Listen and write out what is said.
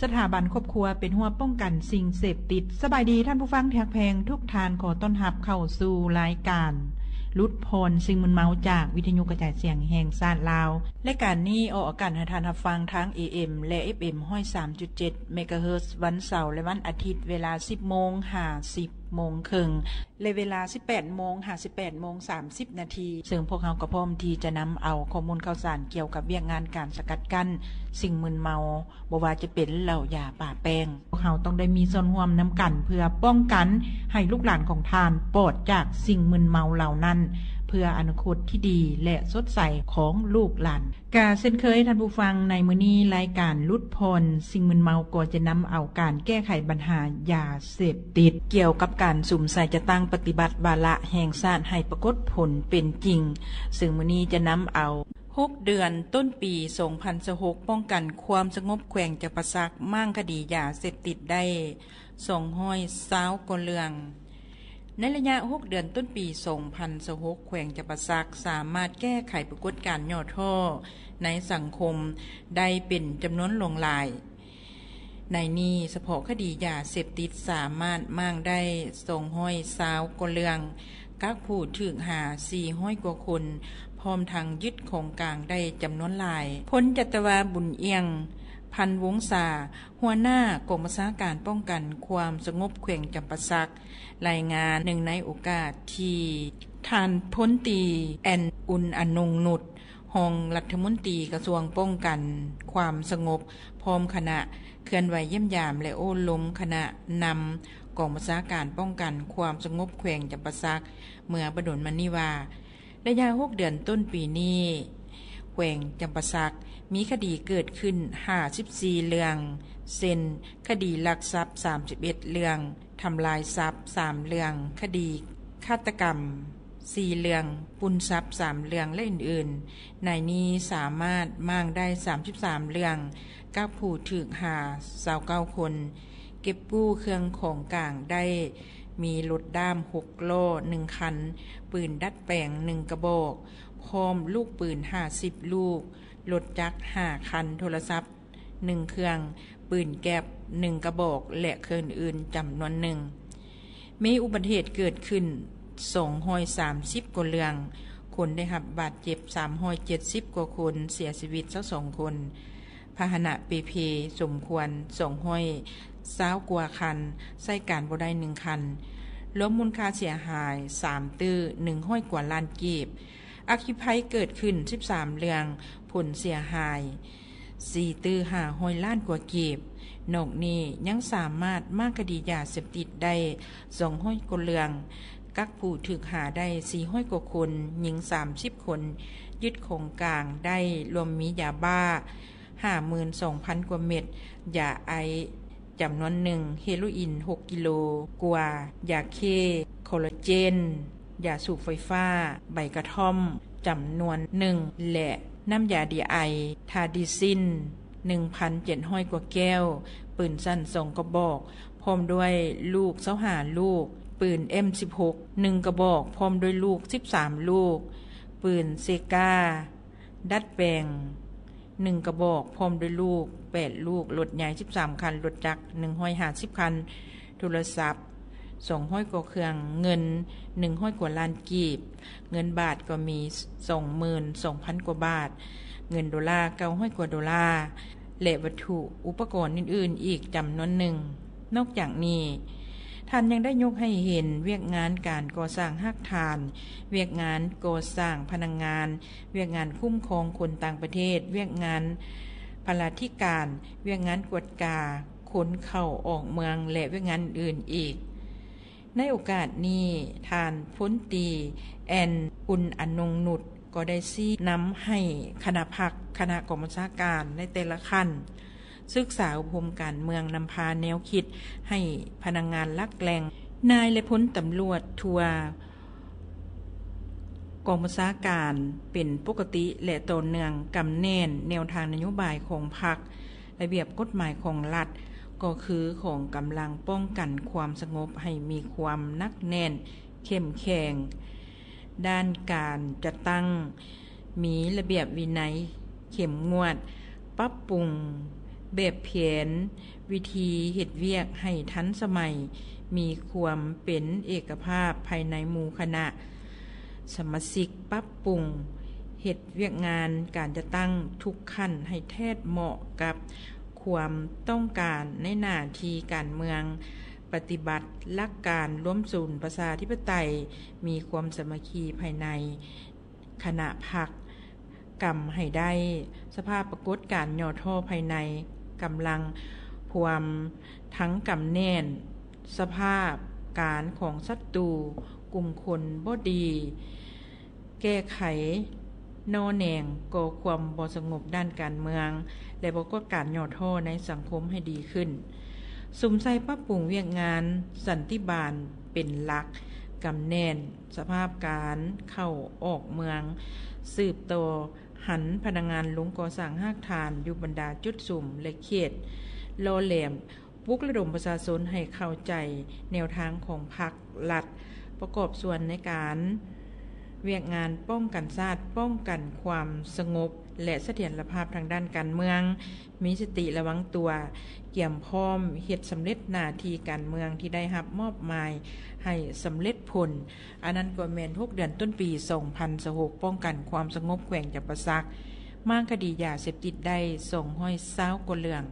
ສະຖາບັນຄອບຄົວເປັນຮົ້ວປ້ອງກັນສິ່ງເສບຕິດ. ສະບາຍດີທ່ານຜູ້ຟັງທີ່ຮັກແພງທຸກທ່ານ, ຂໍຕ້ອນຮັບເຂົ້າສູ່ລາຍການຫຼຸດຜ່ອນສິ່ງມຶນເມົາຈາກວິທະຍຸກະຈາຍສຽງແຫ່ງຊາດລາວ. ລາຍການນີ້ອອກອາກາດໃຫ້ທ່ານຮັບຟັງທາງ ເອເອັມ ແລະ ເອຟເອັມ ຮ້ອຍສາມຈຸດເຈັດ ເມກາເຮີດ ວັນເສົາ ແລະ ວັນອາທິດ ເວລາ ສິບໂມງ ຫາ ສິບໂມງເຄິ່ງ ແລະ ເວລາ ສິບແປດໂມງ ຫາ ສິບແປດໂມງ ສາມສິບນາທີ, ເຊິ່ງພວກເຮົາກໍພ້ອມທີ່ຈະນຳເອົາຂໍ້ມູນຂ່າວສານກ່ຽວກັບວຽກງານການສະກັດກັ້ນສິ່ງມຶນເມົາ, ບໍ່ວ່າຈະເປັນເຫຼົ້າ, ຢາ, ປາແປ້ງ. ພວກເຮົາຕ້ອງໄດ້ມີສ່ວນຮ່ວມນຳກັນ ເພື່ອປ້ອງກັນໃຫ້ລູກຫຼານຂອງທ່ານປອດຈາກສິ່ງມຶນເມົາເຫຼົ່ານັ້ນ, ເພື່ອອະນາຄົດທີ່ດີ ແລະ ສົດໃສຂອງລູກຫຼານ. ກະເຊັ່ນເຄີຍທ່ານຜູ້ຟັງ, ໃນມື້ນີ້ລາຍການຫຼຸດຜ່ອນສິ່ງມຶນເມົາກໍຈະນຳເອົາການແກ້ໄຂບັນຫາຢາເສບຕິດ, ກ່ຽວກັບການສຸມໃສ່ຈັດຕັ້ງປະຕິບັດວາລະແຫ່ງຊາດໃຫ້ປາກົດຜົນເປັນຈິງ, ເຊິ່ງມື້ນີ້ຈະນຳເອົາ ຫົກເດືອນຕົ້ນປີສອງພັນຊາວຫົກ ປ້ອງກັນຄວາມສະຫງົບແຂວງຈຳປາສັກ, ມ້າງຄະດີຢາເສບຕິດໄດ້ສອງຮ້ອຍຊາວກວ່າເລື່ອງ. ໃນໄລຍະຫົກເດືອນຕົ້ນປີສອງພັນຊາວຫົກ ແຂວງຈຳປາສັກສາມາດແກ້ໄຂປາກົດການຫຍໍ້ທໍ້ໃນສັງຄົມໄດ້ເປັນຈຳນວນຫຼວງຫຼາຍ. ໃນນີ້ສະເພາະຄະດີຢາເສບຕິດສາມາດມ້າງໄດ້ສອງຮ້ອຍຊາວກວ່າເລື່ອງ, ກັກຜູ້ຖືກຫາສີ່ຮ້ອຍກວ່າຄົນ, ພ້ອມທັງຍຶດຂອງກາງໄດ້ຈຳນວນຫຼາຍ. ພົນຈັດຕະວາ ບຸນອ່ຽງ ພັນວົງສາ, ຫົວໜ້າກອງບັນຊາການປ້ອງກັນຄວາມສະຫງົບແຂວງຈຳປາສັກ ລາຍງານເນື່ອງໃນໂອກາດທີ່ທ່ານພົນຕີ ແອນ ອຸນອະນົງນຸດ, ຮອງລັດຖະມົນຕີກະຊວງປ້ອງກັນຄວາມສະຫງົບ ພ້ອມຄະນະເຄື່ອນໄຫວຢ້ຽມຢາມ ແລະ ໂອ້ລົມຄະນະນຳກອງບັນຊາການປ້ອງກັນຄວາມສະຫງົບແຂວງຈຳປາສັກ ເມື່ອບໍ່ດົນມານີ້ວ່າ, ໄລຍະຫົກເດືອນຕົ້ນປີນີ້ ແຂວງຈຳປາສັກມີຄະດີເກີດຂຶ້ນຫ້າສິບສີ່ເລື່ອງ, ເຊັ່ນ ຄະດີລັກຊັບສາມສິບເອັດເລື່ອງ, ທຳລາຍຊັບສາມເລື່ອງ, ຄະດີຄາດຕະກຳສີ່ເລື່ອງ, ປຸ້ນຊັບສາມເລື່ອງ ແລະ ອື່ນໆ. ໃນນີ້ສາມາດມ້າງໄດ້ສາມສິບສາມເລື່ອງ, ກັກຜູ້ຖືກຫາຊາວເກົ້າຄົນ, ເກັບກູ້ເຄື່ອງຂອງກາງໄດ້ມີລົດດ້າມຫົກລໍ້ໜຶ່ງຄັນ, ປືນດັດແປງໜຶ່ງກະບອກ, ພ້ອມລູກປືນຫ້າສິບລູກ, ລົດຈັກຫ້າຄັນ, ໂທລະສັບ ໜຶ່ງເຄື່ອງ, ປືນແກັບໜຶ່ງກະບອກ ແລະ ເຄື່ອງອື່ນຈຳນວນໜຶ່ງ. ມີອຸບັດຕິເຫດເກີດຂຶ້ນສອງຮ້ອຍສາມສິບກວ່າເລື່ອງ, ຄົນໄດ້ຮັບບາດເຈັບສາມຮ້ອຍເຈັດສິບກວ່າຄົນ, ເສຍຊີວິດຊາວສອງຄົນ, ພາຫະນະເປ່ເພສົມຄວນສອງຮ້ອຍຊາວກວ່າຄັນ, ໃຊ້ການບໍ່ໄດ້ໜຶ່ງຄັນ, ລວມມູນຄ່າເສຍຫາຍສາມຕື້ໜຶ່ງຮ້ອຍກວ່າລ້ານກີບ. ອັກຄີໄພເກີດຂຶ້ນສິບສາມເລື່ອງ, ຜົນເສຍຫາຍ ສີ່ຕື້ຫ້າຮ້ອຍລ້ານກວ່າກີບ. ນອກນີ້ຍັງສາມາດມ້າງຄະດີຢາເສບຕິດໄດ້ສອງຮ້ອຍກວ່າເລື່ອງ, ກັກຜູ້ຖືກຫາໄດ້ສີ່ຮ້ອຍກວ່າຄົນ, ຍິງສາມສິບຄົນ, ຍຶດຂອງກາງໄດ້ລວມມີຢາບ້າຫ້າໝື່ນສອງພັນກວ່າເມັດ, ຢາໄອສ໌ຈຳນວນໜຶ່ງ, ເຮໂຣອິນຫົກກິໂລກວ່າ, ຢາເຄ, ຄໍລາເຈນ, ຢາສູບໄຟຟ້າ, ໃບກະທ່ອມຈຳນວນໜຶ່ງ ແລະ ນ້ຳຢາດີໄອ, ທາດີຊິນ ໜຶ່ງພັນເຈັດຮ້ອຍກວ່າແກ້ວ, ປືນສັ້ນສອງກະບອກ ພ້ອມດ້ວຍລູກຊາວຫ້າລູກ, ປືນເອັມສິບຫົກ ໜຶ່ງກະບອກ ພ້ອມດ້ວຍລູກສິບສາມລູກ, ປືນເຊກາ ດັດແປງ ໜຶ່ງກະບອກ ພ້ອມດ້ວຍລູກແປດລູກ, ລົດໃຫຍ່ສິບສາມຄັນ, ລົດຈັກໜຶ່ງຮ້ອຍຫ້າສິບຄັນ, ໂທລະສັບສອງຮ້ອຍກວ່າເຄື່ອງ, ເງິນໜຶ່ງຮ້ອຍກວ່າລ້ານກີບ, ເງິນບາດກໍມີສອງໝື່ນສອງພັນກວ່າບາດ, ເງິນໂດລາເກົ້າຮ້ອຍກວ່າໂດລາ ແລະ ວັດຖຸອຸປະກອນອື່ນໆອີກຈຳນວນໜຶ່ງ. ນອກຈາກນີ້, ທ່ານຍັງໄດ້ຍົກໃຫ້ເຫັນວຽກງານການກໍ່ສ້າງຮາກຖານ, ວຽກງານກໍ່ສ້າງພະນັກງານ, ວຽກງານຄຸ້ມຄອງຄົນຕ່າງປະເທດ, ວຽກງານພະລາທິການ, ວຽກງານກວດກາຄົນເຂົ້າອອກເມືອງ ແລະ ວຽກງານອື່ນໆອີກ. ໃນໂອກາດນີ້, ທ່ານພົນຕີ ແອນ ອຸນອະນົງນຸດ ກໍໄດ້ຊີ້ນຳໃຫ້ຄະນະພັກ, ຄະນະກອງບັນຊາການໃນແຕ່ລະຂັ້ນ ສຶກສາອົບຮົມການເມືອງ, ນຳພາແນວຄິດໃຫ້ພະນັກງານຫຼັກແຫຼ່ງ, ນາຍ ແລະ ພົນຕຳຫຼວດທົ່ວກອງບັນຊາການເປັນປົກກະຕິ ແລະ ຕໍ່ເນື່ອງ, ກຳແໜ້ນແນວທາງນະໂຍບາຍຂອງພັກ, ລະບຽບກົດໝາຍຂອງລັດ, ກໍຄືຂອງກຳລັງປ້ອງກັນຄວາມສະຫງົບໃຫ້ມີຄວາມໜັກແໜ້ນ, ເຂັ້ມແຂງ. ດ້ານການຈັດຕັ້ງ, ມີລະບຽບວິໄນເຂັ້ມງວດ, ປັບປຸງ ແບບແຜນວິທີເຮັດວຽກໃຫ້ທັນສະໄໝ, ມີຄວາມເປັນເອກະພາບພາຍໃນໝູ່ຄະນະສະມາຊິກ, ປັບປຸງເຮັດວຽກງານການຈັດຕັ້ງທຸກຂັ້ນໃຫ້ແທດເໝາະກັບຄວາມຕ້ອງການໃນໜ້າທີ່ການເມືອງ, ປະຕິບັດຫຼັກການລວມສູນປະຊາທິປະໄຕ, ມີຄວາມສາມັກຄີພາຍໃນ ຄະນະພັກກຳໃຫ້ໄດ້, ສະພາບປາກົດການຫຍໍ້ທໍ້ພາຍໃນກຳລັງພວມທັງກຳແໜ້ນ, ສະພາບການຂອງສັດຕູ, ກຸ່ມຄົນບໍ່ດີ, ແກ້ໄຂໜໍ່ແໜງກໍ່ຄວາມບໍ່ສະຫງົບດ້ານການເມືອງ ແລະ ປາກົດການຫຍໍ້ທໍ້ໃນສັງຄົມໃຫ້ດີຂຶ້ນ. ສຸມໃສ່ປັບປຸງວຽກງານສັນຕິບານເປັນຫຼັກ, ກຳແໜ້ນ ສະພາບການເຂົ້າອອກເມືອງ, ສືບຕໍ່ຫັນພະນັກງານລົງກໍ່ສ້າງຮາກຖານຢູ່ບັນດາຈຸດສຸມ ແລະ ເຂດຫຼໍ່ແຫຼມ, ປຸກລະດົມປະຊາຊົນໃຫ້ເຂົ້າໃຈແນວທາງຂອງພັກລັດ, ປະກອບສ່ວນໃນການວຽກງານປ້ອງກັນຊາດ, ປ້ອງກັນຄວາມສະຫງົບ ແລະ ສະຖຽນລະພາບທາງດ້ານການເມືອງ, ມີສະຕິລະວັງຕົວ, ກຽມພ້ອມເຮັດສຳເລັດໜ້າທີ່ການເມືອງທີ່ໄດ້ຮັບມອບໝາຍໃຫ້ສຳເລັດຜົນ. ອັນນັ້ນກໍແມ່ນຫົກເດືອນຕົ້ນປີສອງພັນຊາວຫົກ ປ້ອງກັນຄວາມສະຫງົບແຂວງຈຳປາສັກ, ມ້າງຄະດີຢາເສບຕິດໄດ້ສອງຮ້ອຍຊາວກວ່າເລື່ອງ.